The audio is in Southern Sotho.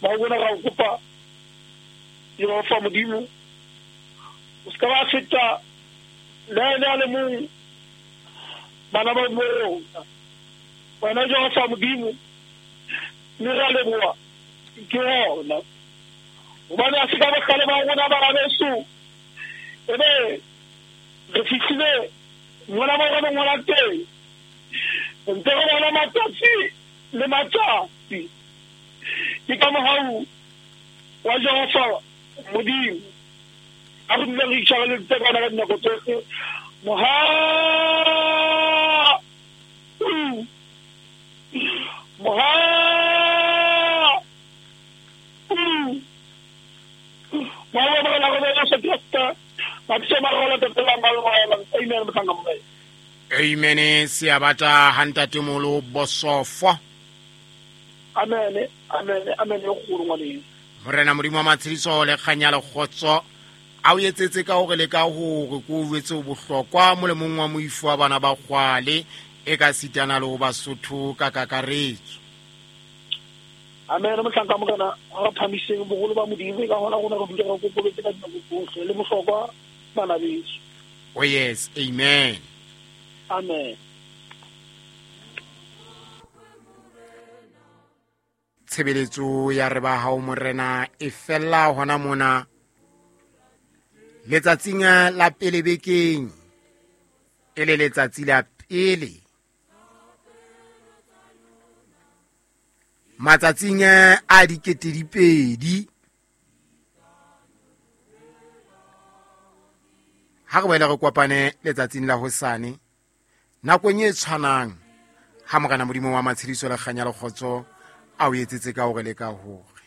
Ba bona ra o kopa Jehova Modimo, o se ka ba feta le ha e le a le mong bana ba bo rona. Wena Jehova Modimo, mme ra leboha ke hona. Hobane ha se ka bohlale ba rona bana beso, ebe re fihlile mona mo re leng hona teng. Re ntse re bona matsatsi le matsatsi. Ke ka mohau wa Jehova Modimo a re dule re itshwareleditse ka ona ka dinako tsohle. Mohau, mohau, mohau wa Morena rona Jesu Kreste, mabitso a mararo a tatelang ba lona. Amen, mohlanka Morena. Amen. Seabata ha ntatemolo bosofo. Amen, amen, amen e kgolo ngwaneng. Morena Modimo wa matshediso le kganya le kgotso a o etsetse ka hore le ka hore ko o jwetse o bohlokwa molemong wa moifo wa bana ba kgwale e ka sitana le ho Basotho ka kakaretso. Amen, mohlanka Morena, re phamiseng boholo ba Modimo, e ka hona rona re dule re kokobetse ka dinako tsohle le bohlokwa bana beso. Oh yes, amen. Amen. Tshebeletso ya re ba hao Morena e fella hona mona letsatsing la pele bekeng, e le letsatsi la pele matsatsing a 2000. Ha re boele re kopane letsatsing la hosane nakong e tshwanang, ha Morena Modimo wa matshediso le kganya le kgotso a o etsetse ka hore le ka hore.